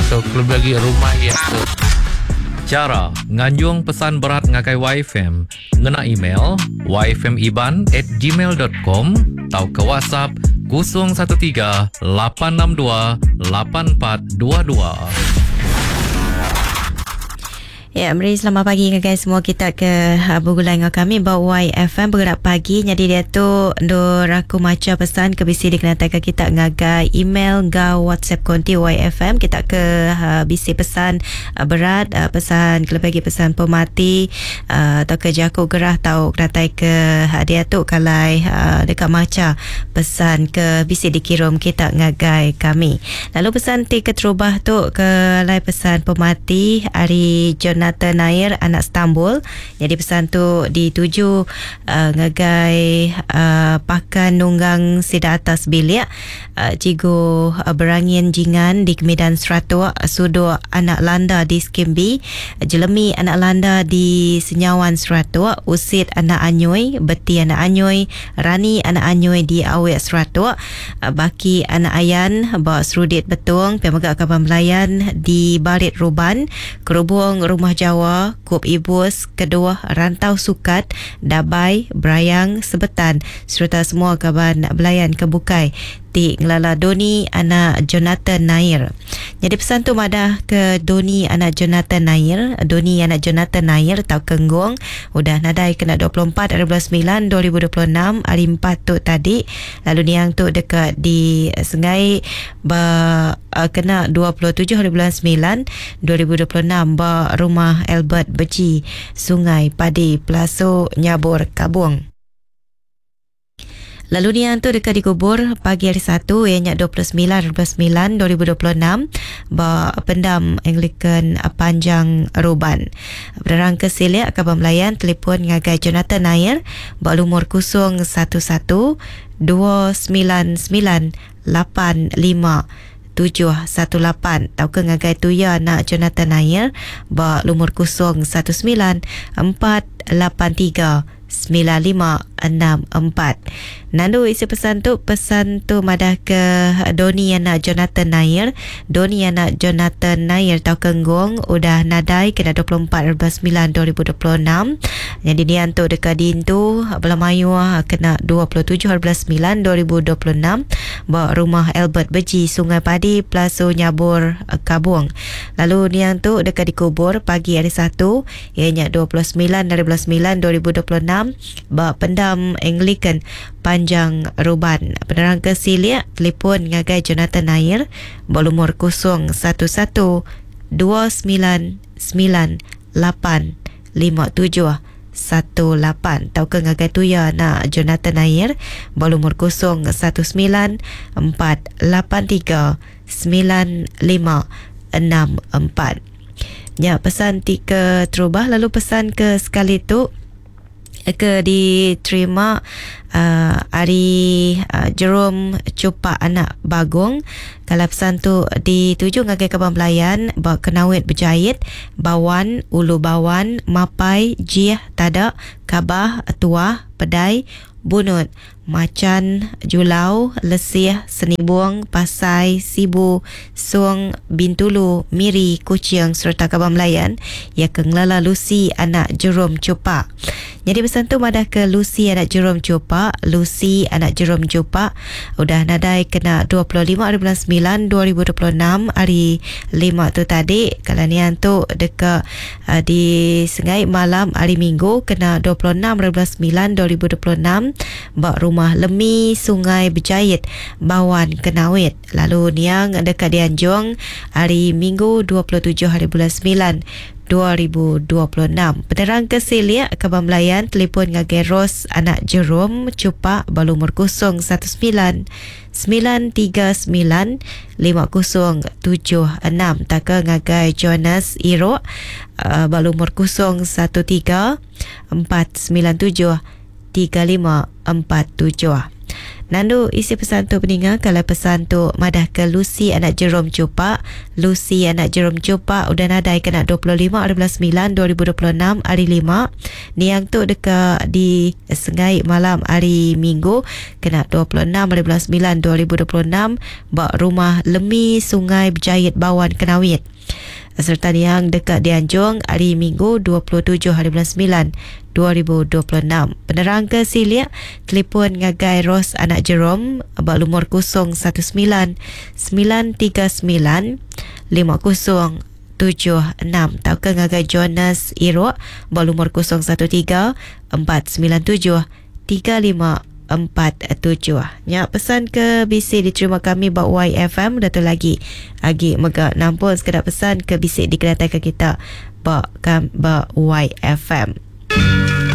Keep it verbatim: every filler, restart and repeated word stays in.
So lebih lagi rumah ya tu. Chara nganjung pesan berat ngagai Y F M ngena email y f m iban at gmail dot com atau ke WhatsApp kosong satu tiga lapan enam dua lapan empat dua dua. Ya, meri selamat pagi ke semua kita ke uh, bergulai dengan kami ba Y F M bergerak pagi. Jadi dia tu ndur aku maca pesan ke bisi dikenatai ke kita ngagai email ngau WhatsApp konti Y F M kita ke uh, bisi pesan uh, berat, uh, pesan ke lebih pesan pemati uh, atau ke jaku gerah tau kenatai ke uh, dia tu kalai uh, dekat maca pesan ke bisi dikirim kita ngagai kami. Lalu pesan ti keterubah tu ke lai pesan pemati hari Jonathan Nair anak Stambul. Jadi pesan tu dituju uh, ngagai uh, pakan nunggang sida atas bilik uh, Cigu uh, Berangin Jingan di Kemidan Seratuk, Suduk anak Landa di Skimbi, Jelemi anak Landa di Senyawan Seratuk, Usit anak Anyoi, Beti anak Anyoi, Rani anak Anyoi di Awek Seratuk, uh, Baki anak Ayan ba Serudit Betung, Pemegak Kaban Belayan di Barit Ruban, Kerubung Rumah Jawa, Kup Ibus, Kedua Rantau Sukat, Dabai, Berayang, Sebetan serta semua kaban belayan kebukai ti ngelala Doni anak Jonathan Nair. Jadi pesan tu madah ke Doni anak Jonathan Nair, Doni anak Jonathan Nair tau kenggong udah nadai kena dua puluh empat hari bulan sembilan dua ribu dua puluh enam hari empat tu tadi. Lalu niang tu dekat di Sengai ba uh, kena dua puluh tujuh hari bulan sembilan dua ribu dua puluh enam ba rumah Albert Beji, Sungai Padi, Pelaso Nyabur, Kabung. Lalu niang tu dekat dikubur pagi hari Satu ianya dua puluh sembilan sembilan dua ribu dua puluh enam ba pendam Anglican Panjang Ruban. Penerang ke silik kaban belayan telefon ngagai Jonathan Nair ba lumur kosong satu satu dua sembilan sembilan lapan lima tujuh satu lapan atau ke ngagai tuya nak Jonathan Nair ba lumur kosong satu sembilan empat lapan tiga sembilan lima enam empat. Nandu isi pesan tu, pesan tu madah ke Doni anak Jonathan Nair. Doni anak Jonathan Nair tau kenggong udah nadai kena dua puluh empat sembilan dua ribu dua puluh enam. Jadi nian tu dekat dintu bela mayu kena dua puluh tujuh sembilan dua ribu dua puluh enam ba rumah Albert Beji, Sungai Padi, Plaso Nyabur, Kabung. Lalu nian tu dekat dikubur pagi hari Satu ianya dua puluh sembilan sembilan dua ribu dua puluh enam ba pendam Anglican Panjang Ruban. Penerang ke silik telefon ngagai Jonathan Nair berlumur kosong satu satu dua sembilan sembilan lapan lima tujuh satu lapan atau ke ngagai tuya nak Jonathan Nair berlumur kosong satu sembilan empat lapan tiga sembilan lima enam empat. Ya, pesan tiga terubah. Lalu pesan ke sekali tu ke diterima uh, hari uh, Jerome Cupak anak Bagong. Kalau pesan tu dituju ngagai kaban belayan ba Kenawit Berjahit, Bawan, Ulu Bawan, Mapai, Jih, Tadak, Kabah, Tuah, Pedai, Bunut, Macan, Julau, Lesih, Senibung, Pasai, Sibu, Suang, Bintulu, Miri, Kuching serta Kaban Melayan yang kengelala Lucy anak Jerome Cupak. Jadi pesan tu madah ke Lucy anak Jerome Cupak, Lucy anak Jerome Cupak udah nadai kena dua puluh lima hari bulan sembilan dua ribu dua puluh enam hari lima tu tadi. Kalau nian tu dekat uh, di Sengai malam hari Minggu kena dua puluh enam hari bulan sembilan dua ribu dua puluh enam bak rumah Lemi Sungai Berjahit, Bawan, Kenawit. Lalu niang dekat Dianjung hari Minggu dua puluh tujuh hari bulan sembilan dua ribu dua puluh enam. Penerang ke Silik Kaban Melayan telefon ngagai Ros anak Jerome Cupak balumur kosong satu sembilan sembilan tiga sembilan lima kosong tujuh enam taka ngagai Jonas Iro uh, balumur kosong satu tiga empat sembilan tujuh tiga lima empat tujuh. Nandu isi pesan tu peninga kalau pesan tu madah ke Lucy anak Jerome Cupak. Lucy anak Jerome Cupak udah nadai kena dua puluh lima hari bulan sembilan dua ribu dua puluh enam hari lima. Niang tu deka di Sengai malam hari Minggu kena dua puluh enam hari bulan sembilan dua ribu dua puluh enam ba rumah Lemi Sungai Berjayit Bawan Kenawit. Serta niang dekat dianjung hari Minggu dua puluh tujuh hari bulan sembilan dua ribu dua puluh enam. Penerang ke Silik, telefon ngagai Ros anak Jerome ba lumur kosong satu sembilan sembilan tiga sembilan lima kosong tujuh enam atau ke ngagai Jonas Irok ba lumur kosong satu tiga empat sembilan tujuh tiga lima empat tujuh. Nya pesan ke B C diterima kami ba Y F M dah tu lagi. Agi mega nampun sekedar pesan ke B C dikenatai ke kita ba kam, ba Y F M.